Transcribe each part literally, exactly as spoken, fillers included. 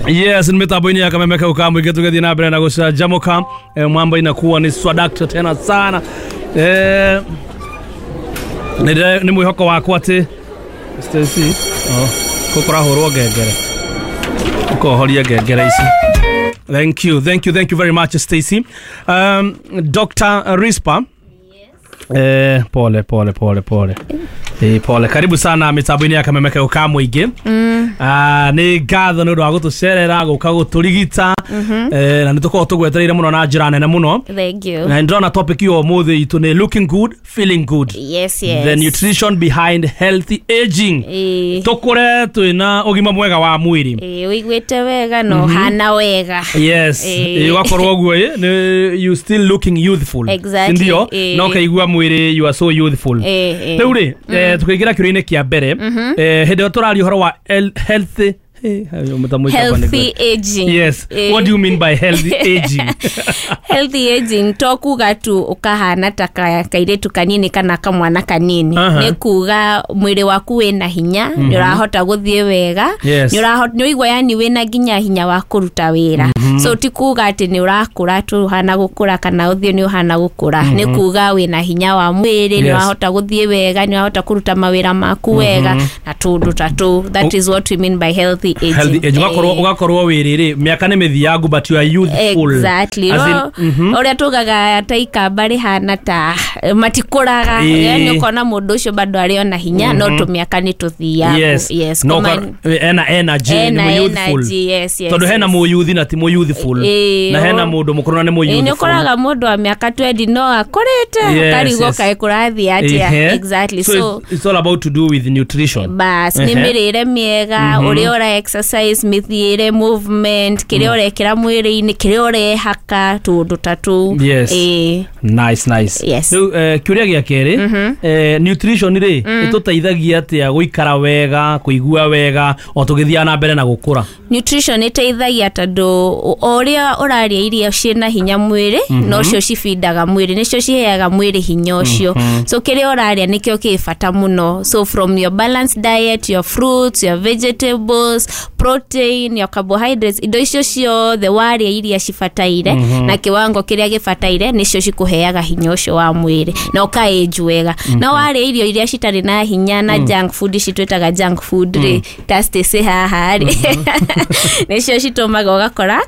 Yes, ni mitambo-inĩ ya Kameme kau ka mũingĩ tũgĩthiĩ na mbere na gũcanjamũka. Eh, mambo inakuwa ni swadakta tena sana. Eh, nĩ nĩ mwĩhoko wakwa atĩ Stacy, oh, gũkũrahũrwo ngengere, ũkohoria ngengere ici. Thank you, thank you, thank you very much, Stacy. Um, Doctor Rispa. Eh, pole pole pole pole. Eh, pole. Karibu sana mitambo-inĩ ya Kameme kau ka mũingĩ. Ah, nĩ ngatho nĩ ũndũ wa gũtũcerera gũka gũtũrigita. Eh, na nĩ tũkoragwo tũgwetereire mũno na njĩra nene mũno. Thank you. Na ndĩrona topic ĩyo ũmũthĩ itũ nĩ looking good, feeling good. Yes, yes. The nutrition behind healthy aging. Ĩĩ. Tũkũre twĩna ũgima mwega wa mwĩrĩ. Ĩĩ, ũiguĩte wega na ũhana wega. Yes. Ĩĩ. Ĩ, ũgakorwo ũguo ĩ, nĩ you still looking youthful. Exactly. Ndio Ĩĩ. na ũkaigua mwĩrĩ you are so youthful. Ĩĩ, ĩĩ. Rĩu rĩ, eh, tukĩingĩra kĩũria-inĩ kĩa mbere, eh, hĩndĩ ĩyo tũraria ũhoro wa el- healthy eh, mũtambo ũcio wakwa nĩ Healthy aging. Yes. Ĩĩ. What do you mean by healthy aging? Healthy aging to kuga tu ũkahana ta ka- kairĩtu kanini kana kamwana kanini. Aha. Nĩ kuga mwĩrĩ waku wĩna hinya, nĩ ũrahota gũthiĩ wega, Yes. nĩ ũrahota, nĩ ũigua yani wĩna nginya hinya wa kũruta wĩra. So ti kuga atĩ nĩ ũrakũra tu ũhana gũkũra kana ũthiĩ nĩ ũhana gũkũra. Nĩ kuga wĩna hinya wa mwĩrĩ, nĩ Yes. ũrahota gũthiĩ wega, nĩ ũrahota kũruta mawĩra maku wega na tũndũ ta tũu. That is what we mean by healthy aging. Healthy age. Ũgakorwo Eh. ũgakorwo wĩrĩ rĩ, mĩaka nĩ mĩthiangu but you are youthful. Exactly. As in, No, ũrĩa tugaga ta ikamba rĩhana ta matikũraga. Ĩĩ. Yani ũkona mũndũ ũcio bado arĩ ona hinya no tũmĩaka nĩ tũthiaga. Yes. Yes. No, Kũma- ũka- ena energy, nĩ Ena mũ youthful. energy, yes, yes, Tondũ hena yes. mũyuthi na ti mũ youthful. Ĩĩ, Na hena o- mũndũ mũkũrũ na nĩ mũ Ĩĩ, nĩ youthful. ũkoraga mũndũ wa mĩaka twenty no akũrĩte Yes, ũkarigwo yes. kaĩ kũrathiĩ atĩa. Ehe. Exactly. So, So, it's, it's all about to do with nutrition. bas nĩ Ehe. mĩrĩre mĩega, ũrĩa ũra exercise, mĩthiĩre, movement, kĩrĩa ũrekĩra mwĩrĩ-inĩ, kĩrĩa ũrehaka, tũũndũ ta tũu. Yes. Ĩĩ. Nice, nice. Yes. Rĩu eh, kĩũria gĩa kerĩ, eh, nutrition rĩ ĩtũteithagia atĩa gũikara wega, kũigua wega o tũgĩthiaga na mbere na gũkũra? Nutrition ĩteithagia tondũ o ũrĩa ũrarĩa irio ciĩna hinya mwĩrĩ nocio cibindaga mwĩrĩ, nĩcio ciheaga mwĩrĩ hinya ũcio. So kĩrĩa ũrarĩa nĩkĩo kĩ bata mũno. So from your balanced diet, your fruits, your vegetables, protein, your carbohydrates, indo icio ciothe warĩa iria cibataire na kiwango kĩrĩa gĩbataire nĩcio cikũheaga hinya ũcio wa mwĩrĩ na ũka-age wega. Na warĩa irio iria citarĩ na hinya na junk food, ici twĩtaga junk food rĩ, ta Stacy haha rĩ, nĩcio citũmaga ũgakora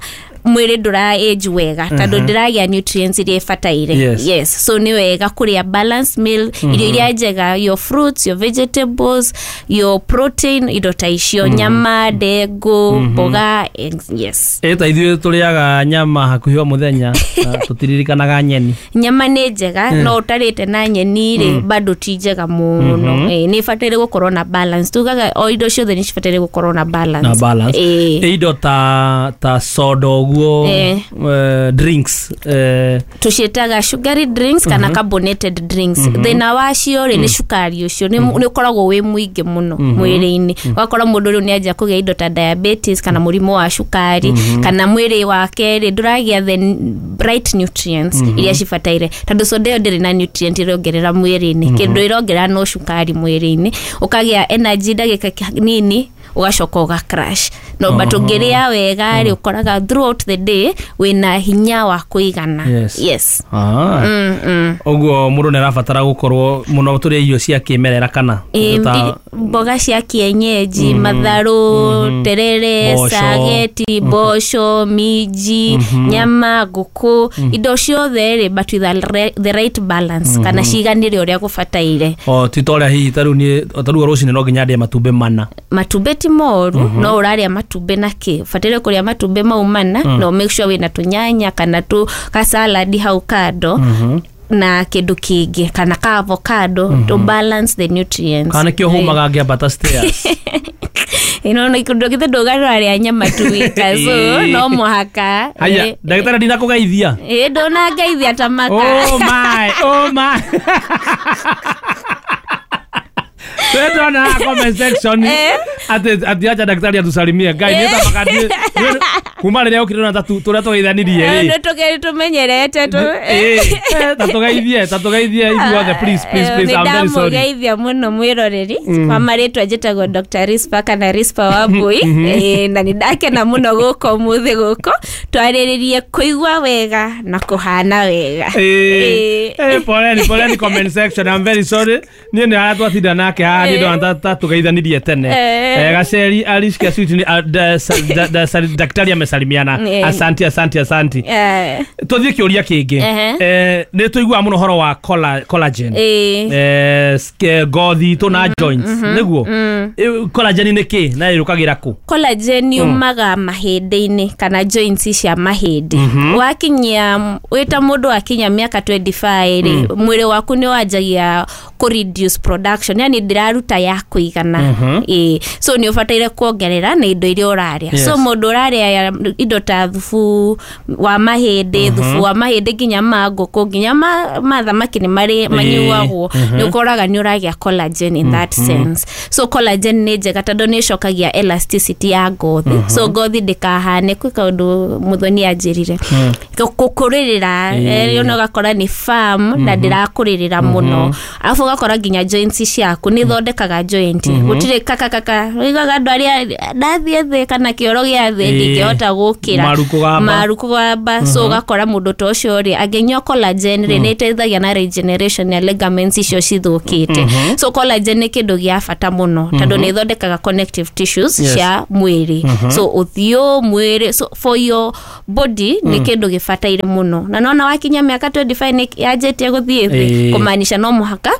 mwĩrĩ ndũra age wega tondũ ndĩragĩa nutrients iria ibataire. Yes. Yes. So nĩ wega kũrĩa balanced meal, irio iria njega, your fruits, your vegetables, your protein, indo ta icio, nyama, ndengũ, mboga, ex- yes. Ĩ ta ithuĩ tũrĩaga nyama hakuhĩ o mũthenya na tũtiririkanaga nyeni. Nyama nĩ njega no ũtarĩte na nyeni rĩ bado ti njega mũno. Ĩ, nĩ ibataire gũkorwo na balance. Tugaga o indo ciothe nĩ cibataire gũkorwo na balance. Na balance. Ĩ. Ĩ indo ta ta soda ũguo, Eh. eh, drinks, eh, Tũciĩtaga sugary drinks kana carbonated drinks. Thĩna wacio rĩ nĩ cukari ũcio nĩ nĩ ũkoragwo wĩ mũingĩ mũno mwĩrĩ-inĩ, ũgakora mũndũ rĩu nĩ anjia kũgĩa indo ta diabetes kana mũrimũ wa cukari, kana mwĩrĩ wake rĩ ndũragĩa the right nutrients iria cibataire, tondũ soda ĩyo ndĩrĩ na nutrient ĩrongerera mwĩrĩ-inĩ. Kĩndũ ĩrongerera no cukari mwĩrĩ-inĩ, ũkagĩa energy ndagĩka nini ũgacoka ũga crash. No but ũngĩrĩa wega rĩ, ũkoraga throughout the day wĩna hinya wa kũigana. Yes. Yes. Ah. Mm, mm. Ũguo mũndũ nĩ arabatara gũkorwo mũno tũrĩe irio cia kĩmerera kana Ĩ, ta ndi- mboga cia kienyeji, matharũ, terere, Mboco. Spaghetti, mboco, minji, nyama, ngũkũ, indo ciothe rĩ, but with the re- the right balance kana ciganĩre ũrĩa gũbataire. O ti ta ũrĩa hihi tarĩu niĩ tarĩu rũcinĩ no nginya ndĩe matumbĩ mana. Matumbĩ ti moru, no ũrarĩa matumbĩ na kĩ? Ũbataire kũrĩa matumbĩ mau mana no make sure wĩna tũnyanya kana tu kasaladi hau kando na kĩndũ kĩngĩ kana ka avocado to balance the nutrients. Kana nĩkĩo hũmaga ngĩambata stairs. Ino kĩndũ githe ndũgararĩa nyama tu wika, so no mũhaka. Haya, Eh, ndagĩtarĩ, ndinakũgeithia. Ĩ, ndũnangeithia ta maka. Oh my, oh my. Twendona comment section Eh. ati ati acha daktari atusalimie. Ngai nĩ tamaka. Kuma rĩrĩa ũkire na tatu tũrĩa tũgeithanirie rĩ. Nĩ tũge tũmenyerete tu. Eh, ta tũgeithie, ta tũgeithie ithuothe, please, please, please, I'm very sorry. Nĩndamũgeithia mũno mwĩroreri. Kwa marĩtwa njĩtagwo Doctor Rispa kana Rispa Wambui. Eh, na nĩndakena mũno gũka ũmũthĩ gũkũ twarĩrĩrie kũigua wega na kũhana wega. Eh, eh, poleni, poleni comment section. I'm very sorry. Niĩ nĩ harĩa twatinda nake haha nĩ ndona ta tũgeithanirie tene. Eh. Eh, Gaceri Alice Kasuti ni daktari amesalimiana. Eh. Asante, asante, asante. Eh, Tũthiĩ kĩũria kĩngĩ. Ehe. Eh, nĩ tũiguaga mũno ũhoro wa colla- collagen. Eh. Eh, sk- ngothi itũ na joints nĩguo. Eh, collagen nĩ kĩ na ĩrũkagĩra kũ? Collagen yumaga mahĩndĩ-inĩ kana joints cia mahĩndĩ. Wakinyia wĩta mũndũ akinya mĩaka mĩrongo ĩrĩ na ĩtano rĩ, mwĩrĩ waku nĩ wanjagia kũ reduce production, yani ndĩraruta ya kũigana. Ĩĩ, so nĩ ũbataire kuongerera na indo iria ũrarĩa. Yes. So mũndũ ũrarĩa indo ta thubu wa mahĩndĩ, thubu wa mahĩndĩ nginya ma ngũkũ, nginya ma, ma thamaki nĩ marĩ manyuagwo, nĩ ũkoraga nĩ ũragĩa collagen in that sense. So collagen nĩ njega tondũ nĩ ĩcokagia elasticity ya ngothi, so ngothi ndĩkahane kwĩ kaũndũ Muthoni anjĩrire gũkũrĩrĩra. Ĩĩ. Ona ũgakora nĩ firm na ndĩrakũrĩrĩra mũno, arabu ũgakora nginya joints ciaku nĩ ithondekaga joint, gũtirĩ kakakaka ũiguaga andũ arĩa ndathiĩ thĩ kana kĩoro gĩa thĩ Ĩĩ. ndingĩhota gũkĩra. Maru kũgamba. Maru kũgamba. So ũgakora mũndũ ta ũcio rĩ, angĩnyua collagen rĩ, nĩ ĩteithagia na regeneration ya ligaments icio cithũkĩte. So collagen nĩ kĩndũ gĩa bata mũno tondũ nĩ ĩthondekaga connective tissues Yes. cia mwĩrĩ, so ũthiũ, mwĩrĩ, so for your body nĩ kĩndũ gĩbataire mũno. Na nona wakinya mĩaka mĩrongo ĩrĩ na ĩtano nĩ yanjĩtie gũthiĩ thĩ, Ĩĩ. kũmaanisha no mũhaka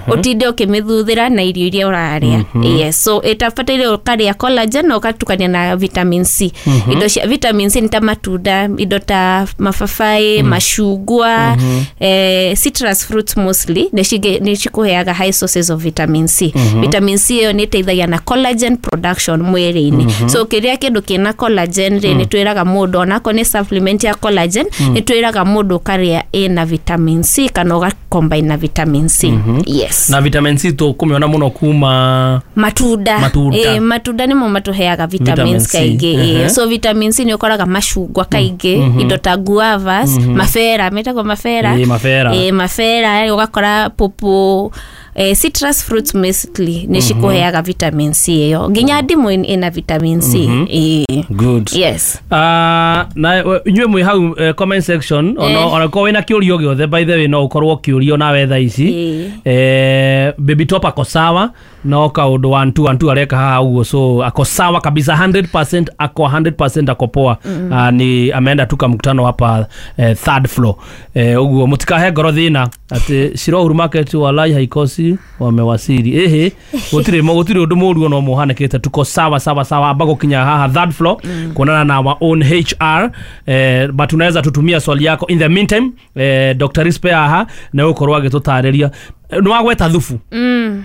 ũtinde ũkĩmĩthuthĩra na irio iria ũrarĩa. Yes, so ĩtabataire ũkarĩa collagen na ũgatukania na vitamin C. Indo cia vitamin C nĩ ta matunda, indo ta mababaĩ, macungwa, eh, citrus fruits mostly nĩ cige- nĩ cikũheaga high sources of vitamin C. Vitamin C ĩyo nĩ ĩteithagia na collagen production mwĩrĩ-inĩ. So ũkĩrĩa kĩndũ kĩna collagen rĩ, nĩ twĩraga mũndũ onakorwo nĩ supplement ya collagen, nĩ twĩraga mũndũ ũkarĩa ĩna vitamin C kana ũgacombine na vitamin C. Yes. Na vitamin C tũkũmĩona mũno kuma Matunda. Matunda. Ĩ, matunda nĩmo matũheaga Vitamin vitamins C. kaingĩ. Ehe. Ĩ, so vitamin C nĩ ũkoraga macungwa kaingĩ, indo ta guavas, mabera, metagwo mabera. Ĩ, mabera. Ĩ, mabera, ũgakora popo, eh, citrus fruits mostly nĩ cikũheaga vitamin C ĩyo, nginya ndimũ ĩna vitamin C. Ĩ. Good. Yes. Ah, na we- inyuĩ mwĩ hau eh, comment section, ona Eh. ona korwo wĩna kĩũria o gĩothe, by the way, no ũkorwo ũkĩũrio nawe thaa ici. Ĩ. eh, baby Top ako sawa, no kaũndũ one two one two areka haha ũguo, so ako sawa kabisa, mia moja ako mia moja ako poa. mm. uh, ni ameenda tu kamkutano hapa eh, third floor. eh, ũguo mũtikahe ngoro thĩna atĩ Shiro Market walai haikosi wamewasili. Ehe, gũtirĩ gũtirĩ ũndũ mũru ona ũmwe ũhanĩkĩte, tuko sawa sawa sawa. Amba gũkinya haha third floor mm. kuonana na our own H R, eh, but unaweza tutumia swali yako in the meantime. eh, Doctor Rispe haha na ũgũkorwo agĩtũtarĩria. Nĩ wagweta thubu. mm.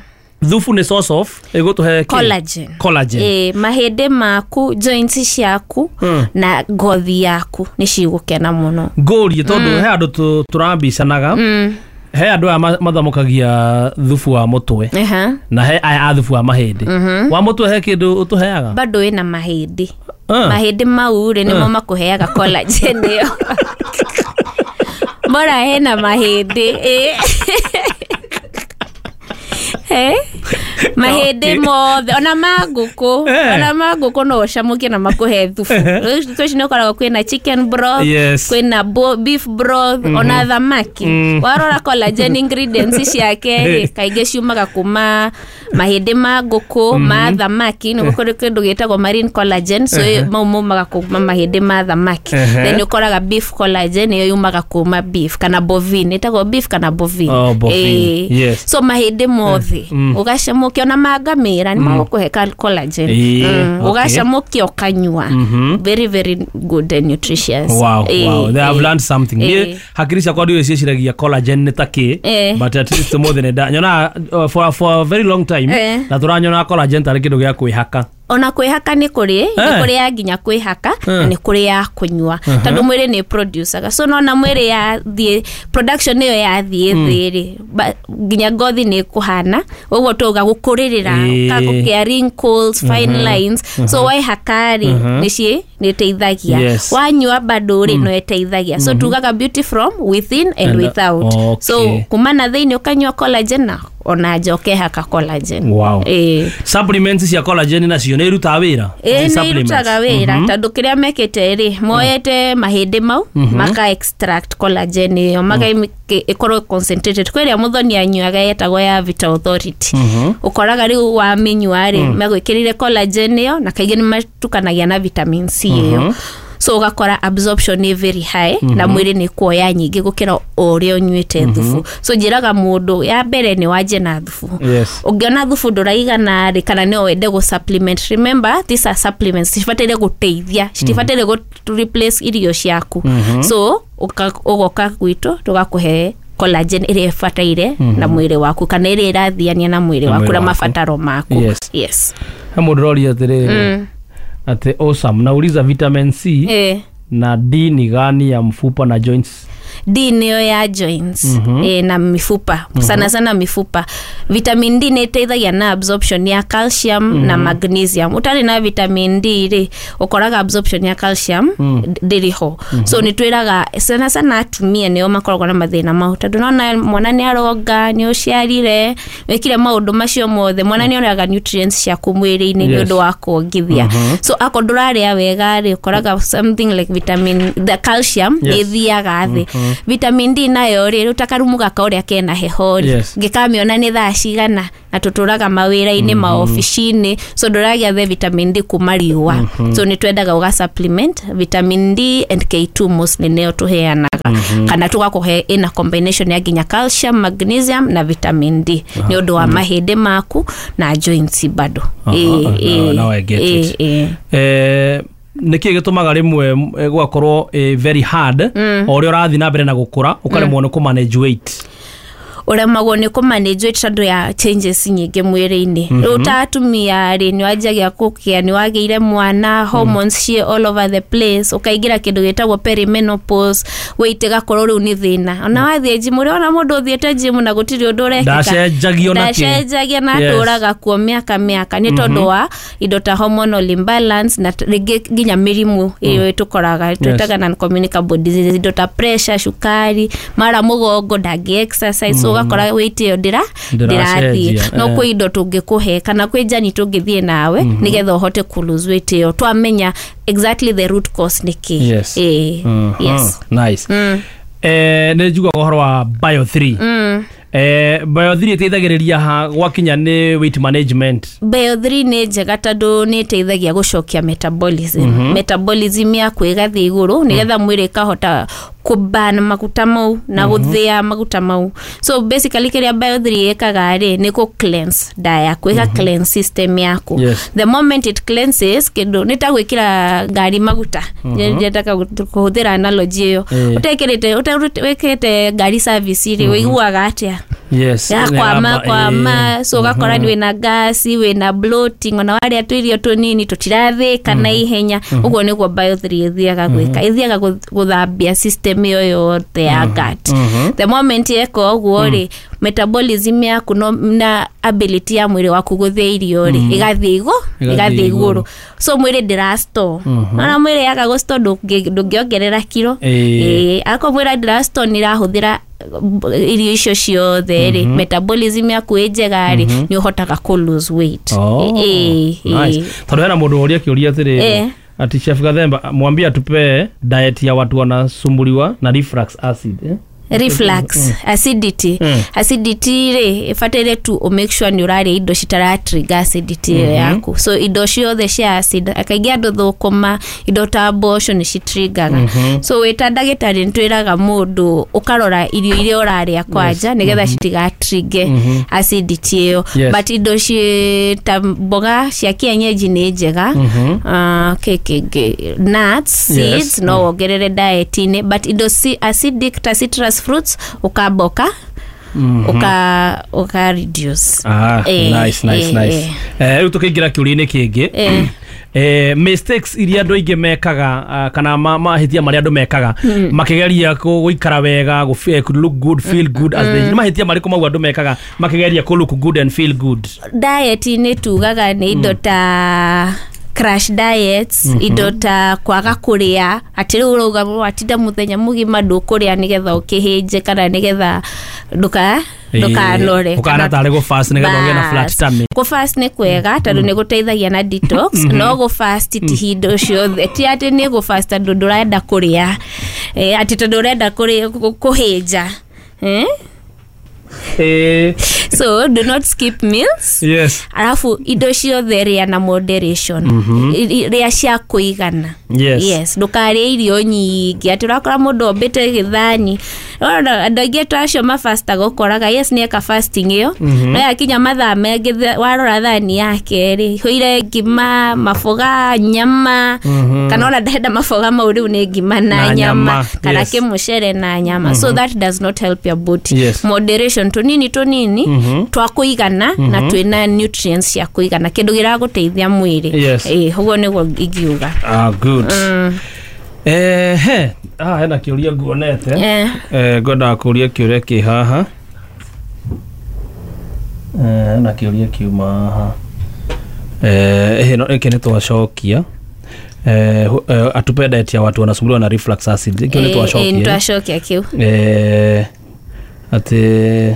Thubu nĩ source of ĩgũtũhe kĩ? Collagen. Collagen. Ĩ, mahĩndĩ maku, joints ciaku Mm. na ngothi yaku nĩ cigũkena mũno. Ngũrie tondũ he andũ tũ- tũrambicanaga, mm. he andũ aya ma- mathamũkagia thubu wa mũtwe Aha. na he aya a thubu wa mahĩndĩ. Wa mũtwe he kĩndũ ũtũheaga? Bado wĩna mahĩndĩ. Ah. Mahĩndĩ mau rĩ, nĩmo makũheaga collagen ĩyo, bora hena mahĩndĩ. Ĩ. Eh? Mahĩndĩ mothe, ona ma ngũkũ. Eh. Ona ma ngũkũ no ũcamũkie na makũhe thubu. Rĩu ici nĩ ũkoraga kwĩna chicken broth, Yes. kwĩna bo- beef broth, ona thamaki. Warora collagen ingredients ciake rĩ, kaingĩ ciumaga kuma mahĩndĩ ma ngũkũ, ma thamaki. Nĩ kũrĩ kĩndũ gĩtagwo marine collagen, so mau maumaga kuma mahĩndĩ ma thamaki. Ehe. Then ũkoraga beef collagen ĩyo yumaga kuma beef kana bovine, ĩtagwo beef kana bovine. Oh, bovine. Ĩĩ. Yes. So mahĩndĩ mothe ũgacamũkia, ona ma ngamĩra nĩ magũkũhe ka- collagen. Ĩĩ, Mm, okay. ũgacamũkia ũkanyua, very very good and nutritious. Wow, Ĩĩ, wow. They have ĩĩ. learned something. Ĩĩ. Niĩ hakiri ciakwa ndiũĩ ciĩciragia collagen nĩ ta kĩ, Eh. but at least ũmũthĩ nĩ nda nyonaga uh, for, for a very long time Eh. na tũranyonaga collagen tarĩ kĩndũ gĩa kwĩhaka. Ona kwĩhaka nĩ kũrĩ, Eh. nĩ kũrĩ ya nginya kwĩhaka na nĩ kũrĩ ya kũnyua, tondũ mwĩrĩ nĩ producaga. So nona mwĩrĩ yathiĩ, production ĩyo yathiĩ thĩ rĩ, ba- nginya ngothi nĩ ĩkũhana ũguo tũga gũkũrĩrĩra, Ĩĩ. gũkĩa wrinkles, fine lines. So waihaka rĩ, nĩ ciĩ Nĩ ĩteithagia. Yes. Wanyua bado rĩ, no ĩteithagia. So tugaga beauty from within and, And, without. okay. So kuma na thĩinĩ ũkanyua collagen na ona nja ũkehaka collagen. Wow. Ĩĩ. Supplements cia collagen nacio nĩ irutaga wĩra? Ĩĩ, Ici nĩ supplements. irutaga wĩra, tondũ kĩrĩa mekĩte rĩ, moete mahĩndĩ mau, maka extract collagen ĩyo, maka ĩkorwo concentrated. Kwĩ ĩrĩa mũthoni anyuaga yetagwo ya Vita Authority. Ũkoraga rĩu wamĩnyua rĩ, megwĩkĩrire collagen ĩyo, na kaingĩ nĩ matukanagia na vitamin C ĩyo, so ũgakora absorption nĩ very high na mwĩrĩ nĩ kuoya nyingĩ gũkĩra o ũrĩa ũnyuĩte thubu. So njĩraga mũndũ ya mbere nĩ wanjie na thubu. Yes. Ũngĩona thubu ndũraigana rĩ, kana no wende gũ supplement, remember these are supplements, cibataire gũteithia, citibataire gũ replace irio ciaku. So ũka- ũgoka gwitũ tũgakũhe collagen ĩrĩa ĩbataire na mwĩrĩ waku, kana ĩrĩa ĩrathiania na mwĩrĩ Na waku mwĩrĩ na waku. mabataro maku. Yes. Yes. He mũndũ ũroria atĩrĩrĩ, atĩ awesome, nauliza vitamin C Eh. na D ni gani ya mfupa na joints? D nĩyo ya joints, mm -hmm. e, na mifupa, mm -hmm. sana sana mifupa. Vitamin D nĩ ĩteithagia na absorption ya calcium mm -hmm. na magnesium. Ũtarĩ na vitamin D rĩ, ũkoraga absorption ya calcium mm. ndĩrĩ ho. mm -hmm. So nĩ twĩraga sana sana atumia nĩo makoragwo na mathĩna mau, tondũ nona mwana nĩ aronga, nĩ ũciarire, wĩkire maũndũ macio mothe, mwana nĩ onaga nutrients ciaku mwĩrĩ-inĩ nĩ Yes. ũndũ wa kuongithia. So akorwo ndũrarĩa wega rĩ, ũkoraga something like vitamin, the calcium Yes. nĩ ĩthiaga thĩ. Vitamin D nayo rĩ, rĩu ta karumu gaka ũrĩa kena heho rĩ, Yes. ngĩkamĩona nĩ thaa cigana, na tũtũraga mawĩra-inĩ, maobici-inĩ, so ndũragĩa the vitamin D kuma riũa. So nĩ twendaga ũga supplement vitamin D and K two, mostly nĩyo tũheanaga, kana tũgakũhe ĩna combination ya nginya calcium, magnesium na vitamin D nĩ ũndũ wa mahĩndĩ maku na joints bado. Aha, Ĩĩ, now- ĩĩ, now I get ĩĩ, it. ĩĩ. Eh, nä kä gä tå maga rä mwe gũgakorwo eh, very hard o ũrĩa ũrathiĩ na mbere na gũkũra, ũkaremwo nĩ kũ manage weight? Ũremagwo nĩ kũmanage weight tondũ ya changes nyingĩ mwĩrĩ-inĩ. Rĩu ta atumia rĩ, nĩ wanjagia kũkĩa, nĩ wagĩire mwana, hormones ciĩ all over the place, ũkaingĩra kĩndũ gĩtagwo perimenopause, weight ĩgakorwo rĩu nĩ thĩna. Ona wathiĩ gym, ũrĩ ona mũndũ ũthiĩte gym na gũtirĩ ũndũ ũrekĩka? Ndacenjagio na kĩ. Ndacenjagia na Yes. atũraga kuo mĩaka mĩaka, nĩ tondũ wa indo ta hormonal imbalance na t- rĩngĩ nginya mĩrimũ ĩyo tũkoraga twĩtaga non-communicable diseases, indo ta pressure, cukari, mara mũgongo, ndangĩ exercise, so ũgakora weight ĩyo ndĩra Ndĩracenjia, ndĩrathiĩ. No eh. kwĩ indo tũngĩkũhe kana kwĩ njani tũngĩthiĩ nawe nĩgetha ũhote kũ lose weight ĩyo, twamenya exactly the root cause nĩ kĩ. Yes. Ĩĩ, Mhm. yes. Nice. Eh, nä njiguaga å horo wa bio three. Eh, bio three ĩteithagĩrĩria ha gwakinya nĩ weight management? Bio three nĩ njega tondũ nĩ ĩteithagia gũcokia metabolism. mm -hmm. Metabolism yaku ĩgathiĩ igũrũ nĩgetha mwĩrĩ ĩkahota kũban maguta mau na gũthĩa maguta mau. So basically kĩrĩa bio three ĩkaga rĩ, nĩ kũ cleanse nda yaku, ĩka cleanse system yaku. Yes. The moment it cleanses, kĩndũ nĩ ta gwĩkĩra ngari maguta. Nyendaga kũhũthĩra analogy ĩyo. Eh. Ũtekĩrĩte ũte- wĩkĩrĩte ngari service rĩ, ũiguaga atĩa? Yes. Yakwama. Nĩ Kwama, so ũgakora nĩ wĩna gasi, wĩna bloating, ona warĩa tũirio tũnini tũtirathĩka na ihenya. Ũguo nĩguo bio three ĩthiaga gwĩka, ĩthiaga gũ- gũthambia system ĩyo yothe ya gut. The moment yeka ũguo rĩ, metabolism yaku no, na ability ya mwĩrĩ waku gũthĩa irio rĩ, ĩgathiĩ igũ Ĩgathiĩ ĩgathiĩ igũrũ. igũrũ. So mwĩrĩ ndĩra store. Ona mwĩrĩ yaga gũ store, ndũngĩ- ndũngĩongerera kiro. Ĩĩ. Ĩĩ, akorwo mwĩrĩ ndĩra store, nĩ ĩrahũthĩra irio icio ciothe rĩ, metabolism yaku ĩ njega rĩ, nĩ ũhotaga kũ lose weight. Oh, Ĩĩ, nice. ĩĩ. Tondũ hena mũndũ ũria kĩũria atĩrĩrĩ, Eh. ati Chef Gathemba mwambie atupee diet ya watu wanasumbuliwa na reflux acid, eh? Reflux acidity. Mm. Acidity rĩ, ĩbataire tu ũ make sure nĩ ũrarĩa indo citara trigger acidity ĩyo yaku. So indo ciothe cia acid, kaingĩ andũ thũkũma, indo ta mboco nĩ citriggaga. So wĩ ta ndagĩtarĩ nĩ twĩraga mũndũ ũkarora irio iria ũrarĩa kwanja nĩgetha citigatrigge acidity ĩyo. Yes. But indo ci ta mboga cia kienyeji nĩ njega. Ah, kĩ kĩngĩ, nuts, Yes. seeds no wongerere diet-inĩ, but indo ci acidic ta citrus fruits ũkamba ũka ũka ũka reduce. Ah, Eh, nice, nice, eh, nice. eh. Eh, rĩu tũkĩingĩra kĩũria-inĩ kĩngĩ. Eh. Eh, mistakes iria andũ aingĩ mekaga, ah, kana ma- mahĩtia marĩa andũ mekaga makĩgeria kũ- gũikara wega, gũ fe- kũ look good, feel good as they, nĩ mahĩtia marĩkũ mau andũ mekaga makĩgeria kũ look good and feel good? Diet-inĩ tugaga nĩ indo ta Crash diets, indo ta kwaga kũrĩa, atĩ rĩu ũrauga watinda mũthenya mũgima ndũkũrĩa nĩgetha ũkĩhĩnje kana nĩgetha ndũka ndũkanore. Ũkahana tarĩ gũ fast nĩgetha ũgĩe na flat tummy. Kũ fast nĩ kwega tondũ nĩ gũteithagia na detox, no gũ fast ti hingo ciothe, ti atĩ nĩ gũ fast tondũ ndũrenda kũrĩa, eh, atĩ tondũ ũrenda kũrĩa kũhĩnja, eh? Eh, So do not skip meals. Yes arabu indo ciothe rĩa na moderation. I- i- rĩa cia kũigana. Yes. Yes, ndũkarĩe irio nyingĩ atĩ ũrakora mũndũ ombĩte gĩthani. Ũrona andũ aingĩ ta acio mafastaga, ũkoraga yes, nĩ eka fasting ĩyo, no yakinya mathaa mangĩ the- warora thani yake rĩ, hũire ngima, maboga, nyama, kana ona ndenda maboga mau, rĩu nĩ ngima na Na nyama, nyama, kana yes. kĩmũcere na nyama. So that does not help your body. Yes. Moderation, tũnini tũnini twa kũigana na twĩna nutrients cia kũigana, kĩndũ gĩragũteithia mwĩrĩ. Yes. Ĩĩ, ũguo nĩguo ingiuga. Ah, good. Eh, he ah hena kĩũria nguonete. Eh. Eh, ngwendaga kũria kĩũria kĩ haha. Eh, hena kĩũria kiuma haha. Eh, ĩno ĩkĩ nĩ twacokia. Eh, hu- eh, atupe diet ya watu wanasumbuliwa na reflux acid. Kĩu nĩ Ĩĩ, ĩĩ, twacokia. nĩtwacokia kĩu. Eh, atĩ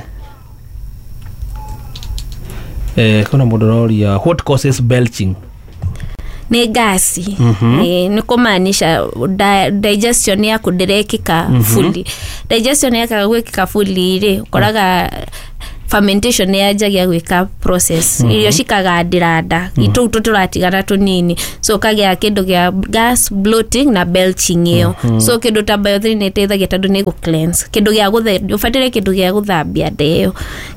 eh, kuna mũndũ ũroria, what causes belching? Nĩ ngasi. Ĩĩ, nĩ kũmaanisha di- digestion yaku ndĩrekĩka fully. Digestion yakaga gwĩkĩka fully rĩ, ũkoraga fermentation nĩ yanjagia gwĩka process, irio cikagandĩra nda, tũu tũtũratigana tũnini, so ũkagĩa kĩndũ gĩa gas, bloating na belching ĩyo. So kĩndũ ta Bio three nĩ ĩteithagia tondũ nĩ gũ cleanse, kĩndũ gĩa gũthe ũbataire kĩndũ gĩa gũthambia nda ĩyo,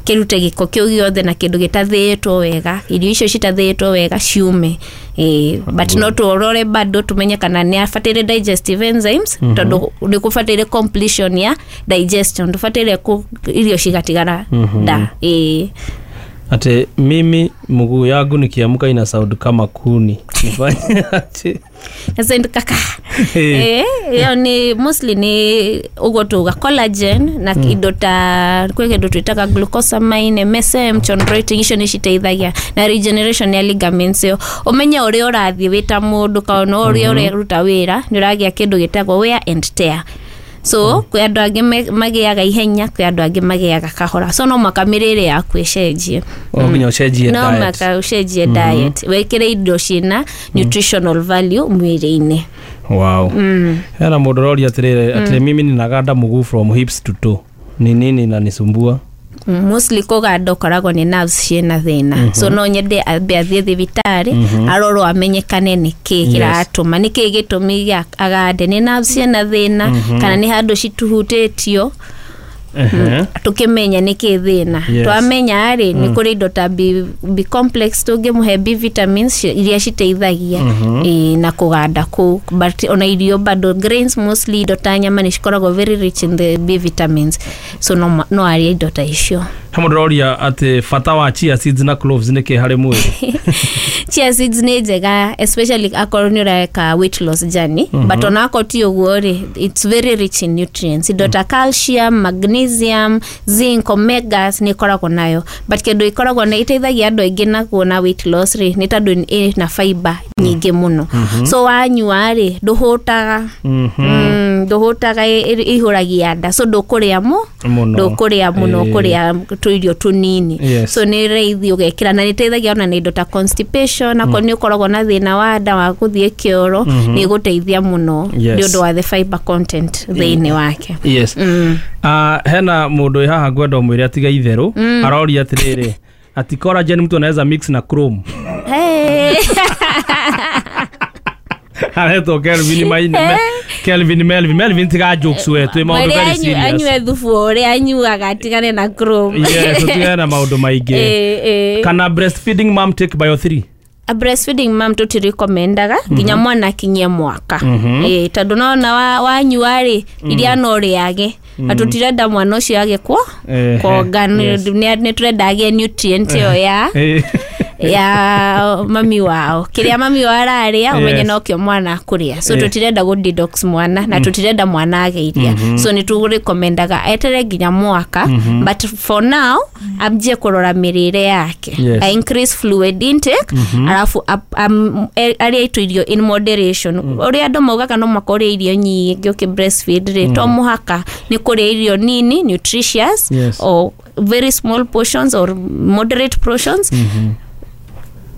kĩrute gĩko kĩu gĩothe na kĩndũ gĩtathĩĩtwo wega, irio icio citathĩĩtwo wega ciume. Ĩĩ, but no tũrore bado tumenye kana nĩ abataire digestive enzymes, tondũ nĩ kũbataire completion ya digestion, ndũbataire kũ- irio cigatigara nda. Ĩĩ. Ati mimi mguu yangu nikiamka ina sound kama kuni, nifanye aje? Sasa kaka. Eh. Eh, ĩyo nĩ mostly nĩ ũguo tuga collagen na indo ta kwĩ kĩndũ twĩtaga glucosamine, M S M, chondroitin, icio nĩ citeithagia na regeneration ya ligaments ĩyo. Ũmenye ũrĩa ũrathiĩ wĩ ta mũndũ, kana ũrĩa ũreruta wĩra nĩ ũragĩa kĩndũ gĩtagwo wear and tear. So kwĩ andũ angĩ me- magĩaga ihenya, kwĩ andũ angĩ magĩaga kahora, so no mũhaka mĩrĩre yaku ĩcenjie. O nginya ũcenjie No diet. mũhaka ũcenjie diet, wĩkĩre indo ciĩna nutritional value mwĩrĩ-inĩ. Wow. Hena mũndũ ũroria atĩrĩrĩ, atĩ mimi ninaganda mguu from hips to toe, ni nini inanisumbua? Mm, mostly kũganda ũkoragwo nĩ nerves ciĩna thĩna, so no nyende ambe athiĩ thibitarĩ arorwo amenyekane nĩ kĩ kĩratũma, nĩ kĩ gĩtũmi gĩa agande, nĩ nerves ciĩna thĩna kana nĩ handũ cituhutĩtio. Ehe. Tukĩmenya nĩ kĩ thĩna, Yes. twamenya rĩ, nĩ kũrĩ indo ta B, B complex tũngĩmũhe, B vitamins ci- iria citeithagia ĩĩ, na kũganda kũu. But ona irio bado, grains mostly, indo ta nyama nĩ cikoragwo very rich in the B vitamins, so no, ma- no arĩe indo ta icio. He mũndũ ũroria atĩ bata wa chia seeds na cloves nĩ kĩ harĩ mwĩrĩ? Chia seeds nĩ njega, especially akorwo nĩ ũreka weight loss journey, but ona akorwo ti ũguo rĩ, it's very rich in nutrients, indo ta calcium, magnesium, zinc, omegas nĩ ĩkoragwo nayo. But kĩndũ ĩkoragwo na ĩteithagia andũ aingĩ na kuona weight loss rĩ, nĩ tondũ ĩna fiber nyingĩ mũno, so wanyua rĩ, ndũhũtaga. Mm, ndũhũtaga, ĩ- ĩ- ĩihũragia nda, so ndũkũrĩa mũ Mũno. Ndũkũrĩa mũno. Ĩĩ. Ũkũrĩa tũirio tũnini. Yes. So nĩ raithi ũgekĩra na nĩteithagia ona na indo ta constipation, akorwo nĩ ũkoragwo na thĩna wa nda wa gũthiĩ kĩoro, nĩ ĩgũteithia mũno Yes. nĩ ũndũ wa the fiber content thĩinĩ wake. Yes. Mm. Ah, hena mũndũ wĩ haha ngwenda ũmwĩre atiga itherũ. Aroria atĩrĩrĩ, ati collagen mtu anaweza mix na chrome? Hey. Aretwo Kelvin Maine, Kelvin Melvin. Melvin, tiga jokes we, twĩ maũndũ Mwĩre very anyu- serious. Anyue thubu ũrĩa anyuaga, atigane na chrome. Yes, tũtigane na maũndũ maingĩ. Eh, eh. Kana breastfeeding mom take Bio three? A breastfeeding mom tũtirekomendaga nginya mwana akinyie mwaka. Ĩĩ, tondũ nona wa- wanyua rĩ, iria no rĩage, na tũtirenda mwana ũcio age kuo Ehe, kuonga. yes. Nĩ nĩ tũrenda agĩe nutrient ĩyo ya Eh. Ya mami wao, kiria mami wao araria umenye nokio mwana kuria. So tutirenda go detox mwana na tutirenda mwana age iria. So ni turekomendaga etere nginya mwaka, but for now ambie kurora mirire yake. Yes. I increase fluid intake, alafu arie itu irio in moderation. Uria andu maugaga no makore irio nyingi uki breastfeed ri to muhaka ni kuria irio nini nutritious, Yes. or very small portions or moderate portions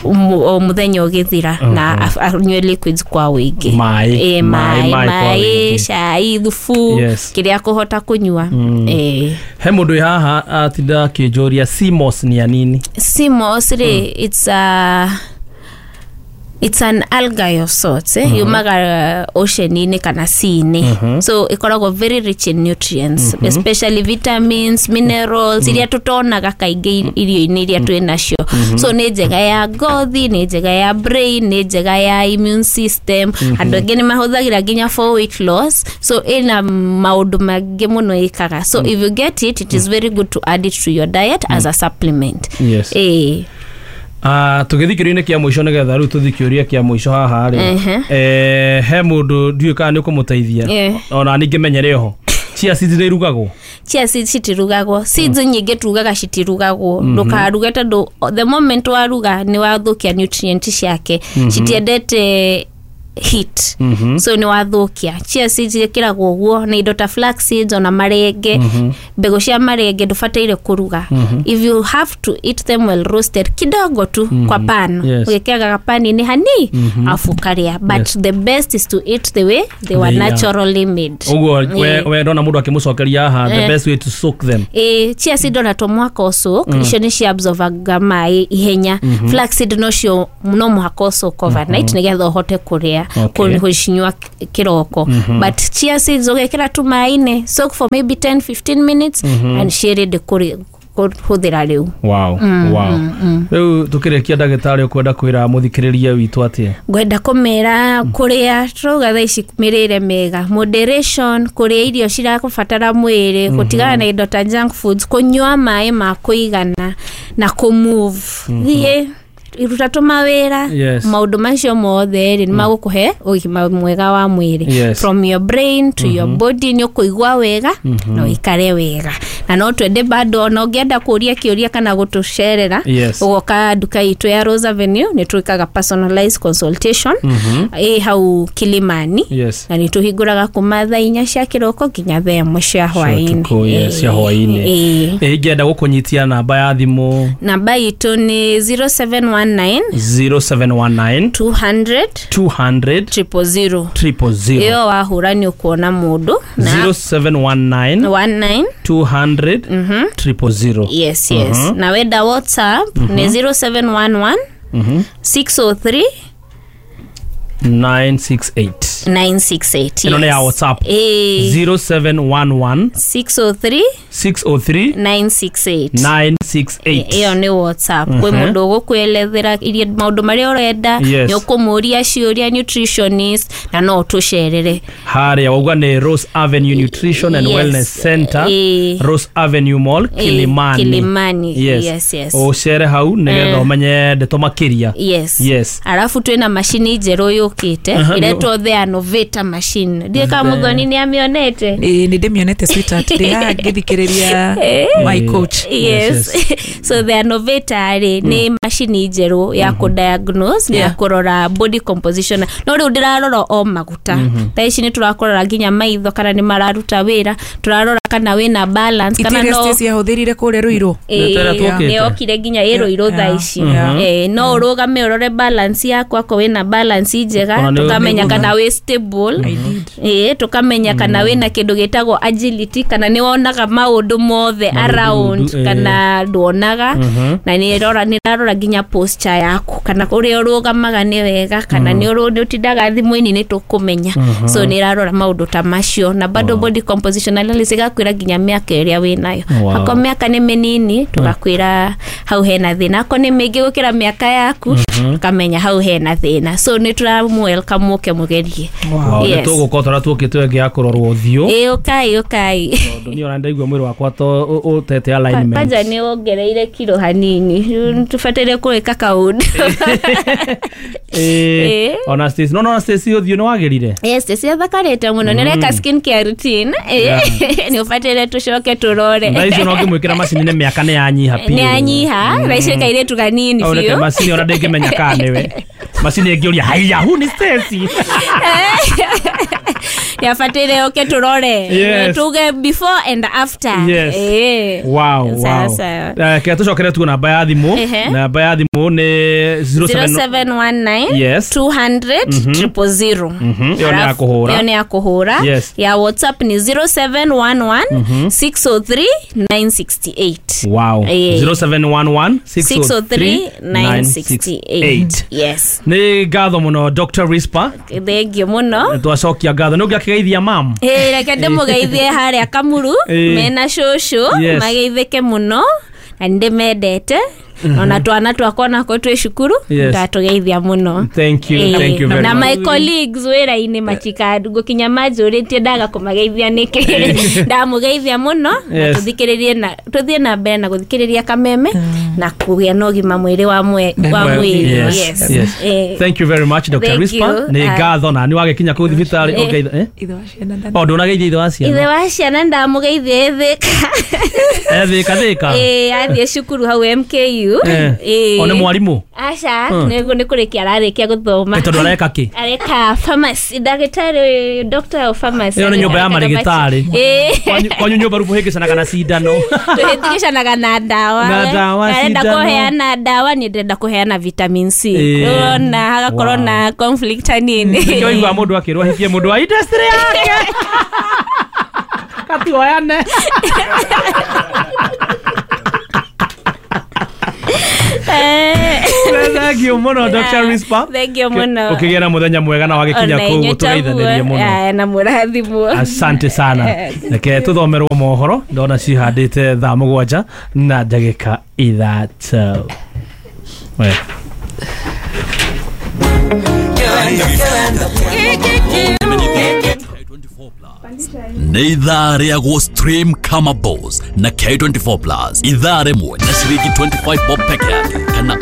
o muthenya ugithira, na anywe liquids kwa wingi, Maĩ, eh maĩ, maĩ maĩ kwa maĩ wĩingĩ. Cai, thubu, Yes. kiria kuhota kunyua eh He mundu wĩ haha atinda akĩnjũria C M O S nĩ ya nini? C M O S ri, it's a it's an algae of sorts, eh? Yumaga ocean-inĩ kana sea-inĩ, so ikoragwo very rich in nutrients, especially vitamins, minerals iria tutonaga kaingĩ irio-inĩ iria twĩ nacio. So nĩ njega ya ngothi, nĩ njega ya brain, nĩ njega ya immune system. Andũ aingĩ nĩ mahũthagĩra nginya for weight loss. So ĩna maũndũ maingĩ mũno ĩkaga. So if you get it, it is very good to add it to your diet as a supplement. Yes. Eh. Ah, tũgĩthiĩ kĩũria-inĩ kĩa mũico, nĩgetha rĩu tũthiĩ kĩũria kĩa mũico haha rĩ, Ehe. eh, he mũndũ ndiũĩ kana nĩ ũkũmũteithia, Eh. ona ningĩ menyere oho chia seeds nĩ irugagwo? Chia seeds citirugagwo. Seeds nyingĩ tugaga citirugagwo. Ndũkaruge tondũ the moment waruga nĩ wathũkia nutrient ciake. Citiendete heat, so nĩ wathũkia. Chia seeds ĩkĩragwo ũguo na indo ta flax seeds, ona marenge, mbegũ cia marenge ndũbataire kũruga. If you have to eat them well roasted kidogo tu kwa pan, Yes. ũgĩkĩraga pan-inĩ hani afu ũkarĩa, but Yes. the best is to eat the way they were They are. naturally made. Ũguo we, Eh. we ndona mũndũ akĩmũcokeria haha, the Eh. best way to soak them. Ĩ, chia seed ona to mwaka ũsoak, icio nĩ ciabsorbaga maĩ ihenya. Flaxseed nocio no mũhaka ũsoak overnight nĩgetha ũhote kũrĩa, Okay. kũcinyua kĩroko. But chia seeds ũgekĩra tu maĩ-inĩ, soak for maybe ten fifteen minutes and ciĩ ready kũrĩ- kũhũthĩra rĩu. wow wow rĩu tũkĩrĩkia, ndagĩtarĩ, ũkwenda kwĩra mũthikĩrĩria witũ atĩa? Ngwenda kũmera kũrĩa turauga thaa ici mĩrĩre mĩega, moderation, kũrĩa irio cirakũbatara mwĩrĩ, gũtigana na indo ta junk foods, kũnyua maĩ ma kũigana na kũmove, thiĩ ruta tũmawĩra. Yes. Maũndũ macio mothe rĩ, nĩ magũkũhe ũgima mwega wa mwĩrĩ. Yes. From your brain to your body, nĩ ũkũigua wega na ũikare wega. Na no twende bado, ona ũngĩenda kũria kĩũria kana gũtũcerera, Yes. ũgoka nduka itũ ya Rose Avenue. Nĩ twĩkaga personalized consultation ĩ hau Kilimani, Yes. na nĩ tũhingũraga kuma thaa inya cia kĩroko nginya thaa ĩmwe cia hwaĩ-inĩ. Ũtukũ, yes, cia hwaĩ-inĩ. Ĩ. Ĩ, ingĩenda gũkũnyitia, namba ya thimũ? Namba itũ nĩ zero seven one nine zero seven one nine two hundred two hundred triple zero. triple zero. Ĩyo wahũra nĩ ũkuona mũndũ na zero seven one nine one nine two hundred triple zero. yes yes Na wenda WhatsApp nĩ zero seven one one six zero three nine six eight. nine six eight. Ĩno nĩ ya WhatsApp? Ĩ. zero seven one one six zero three six zero three nine six eight. nine six eight. Ĩyo nĩ WhatsApp. Kwĩ mũndũ ũgũkwelethera iria maũndũ marĩa ũrenda, Yes. nĩ ũkũmũria ciũria nutritionist, na no ũtũcerere. Harĩa wauga nĩ Rose Avenue Nutrition and Yes. Wellness Center, Ĩ. Rose Avenue Mall, Kilimani. Kilimani. Yes. Yes, yes. Ũcere hau nĩgetha ũmenye ndeto makĩria. Yes. Yes. Arabu twĩna macini njerũ yũkĩte, Aha, ĩretwo the Innovator machine. Ndiĩ kama Mũthoni nĩ amĩonete. Ĩĩ, nĩ ndĩmĩonete, sweetheart, ndĩ haha ngĩthikĩrĩria my coach. Yes. So the Innovator rĩ, nĩ macini njerũ ya kũ-diagnose na ya Yeah. kũrora body composition. No rĩu ndĩrarora o maguta, thaa ici nĩ tũrakũrora nginya maitho kana nĩ mararuta wĩra, tũrarora kana wĩna balance kana Itiria no ciahũthĩrire kũrĩa Rũirũ. Ĩĩ, Nĩ tũkĩte. nĩ okire nginya ĩ Rũirũ thaa ici. Yeah. Eh, no ũrũgame ũrore balance yaku, akorwo wĩna balance njega, Ona nĩ- tũkamenya kana wĩ stable. I did. Ĩĩ, tũkamenya kana wĩna kĩndũ gĩtagwo agility, kana nĩ wonaga maũndũ mothe around, eh. kana nduonaga. Na nĩ ĩrora, nĩ ĩrarora nginya posture yaku, kana ũrĩa ũrũgamaga nĩ wega, kana nĩ ũrũ- nĩ ũtindaga thimũ-inĩ, nĩ tũkũmenya. So nĩ ĩrarora maũndũ ta macio, na bado body composition analysis ĩgakwĩra nginya mĩaka ĩrĩa wĩnayo. Wow. Akorwo mĩaka nĩ mĩnini, tũgakwĩra hau hena thĩna. Akorwo nĩ mĩingĩ gũkĩra mĩaka yaku, tũkamenya hau hena thĩna. So nĩ tũramũ welcome mũke mũgerie. Wow, nĩ Yes. tũgũkorwo tũrĩa tuokĩte ĩngĩ ya kũrorwo ũthiũ. Ĩ, ũkai, ũkai. Tondũ niĩ ona ndaigua. mwĩrĩ wakwa to ũtete alignment. Kwanza nĩ wongereire kiro hanini, tũbataire kũĩka kaũndũ. Eh, ona Stacy, no no Stacy ũthiũ nĩ wagĩrire. Yes, Stacy athakarĩte mũno, nĩ areka skin care routine. Nĩ ũbataire tũcoke tũrore. Thaa icio no ngĩmwĩkĩra macini nĩ mĩaka nĩ yanyiha biũ. Nĩ yanyiha, thaa icio kairĩtu kanini biũ. Macini ona ndĩngĩmenya kana nĩwe. Macini ĩngĩũria haiya, hu ni Stacy. Yafatire oke turore. Yes. Tuge before and after. Yes. Eh. Wow, wow. Sasa. Eh, kaya tucokere tu namba ya thimu. Namba ya thimu ni zero seven one nine Yes. two hundred triple zero. Iyo ni ya kuhura. Iyo ni ya kuhura. Yes. Ya WhatsApp ni zero seven one one six oh three nine six eight. Wow. Eh. zero seven one one six oh three nine six eight. Yes. Ni ngatho muno Doctor Risper. Thank you muno. Twacokia ngatho. Nĩ ũngĩakĩgeithia mam? Eh, reke ndĩmũgeithie harĩa Kamuru mena cũcũ, Yes. mageithĩke mũno na nĩndĩmendete. Ona twana twakwa nako twĩ cukuru Yes. ndatũgeithia mũno. Thank you, Eh, thank you very na much. my colleagues wĩra-inĩ matikandũ ngũkinya manjũrĩtie ndaga kũmageithia nĩkĩ. Ndamũgeithia mũno na Yes. tũthikĩrĩrie na tũthiĩ na mbere na gũthikĩrĩria Kameme na kũgĩa na ũgima mwĩrĩ wa mwe wa mwĩrĩ. Yes. Yes. Yes. Eh. Thank you very much Doctor Thank Risper. you. Nĩ Ah. ngatho na nĩ wagĩkinya kũu thibitarĩ Eh. ũngeitha eh? Ithe wa ciana nda- O ndũnageithia ithe wa ciana. Ithe wa ciana ndamũgeithia ĩthĩka. Ethĩka thĩka. Eh, athiĩ cukuru hau M K U. Eh. Eh. O nĩ mwarimũ? Aca, Hmm. nĩ nĩ kũrĩkia ararĩkia gũthoma. Ĩ tondũ areka kĩ? Areka pharmacy, ndagĩtarĩ, doctor of pharmacy. Ĩyo nĩ nyũmba ya marĩgĩtarĩ. Eh. Kwanyu kwanyu nyũmba rĩu mũhĩngĩcanaga na cindano. Tũhĩtũkĩcanaga na ndawa. Na ndawa, Arenda cindano. kũheana ndawa, niĩ ndĩrenda kũheana vitamin C. Eh. Ũrona hagakorwo Wow. na conflict hanini. Nĩkĩo ũiguaga mũndũ akĩrwo ahikie mũndũ wa industry yake. Katuoyane. Thank you mũno Doctor Risper. Thank you mũno. Ũkĩgĩa na mũthenya mwega na wagĩkinya kũu tũgeithanĩrie mũno. Na mũrathimwo. Asante sana. Reke tũthomerwo mohoro ndona cihandĩte thaa mũgwanja na ndagĩka ithatũ. We. Nĩ ithaa rĩagwo stream kama boss na K twenty-four plus ithaa rĩmwe na ciringi twenty-five bob peke yake kana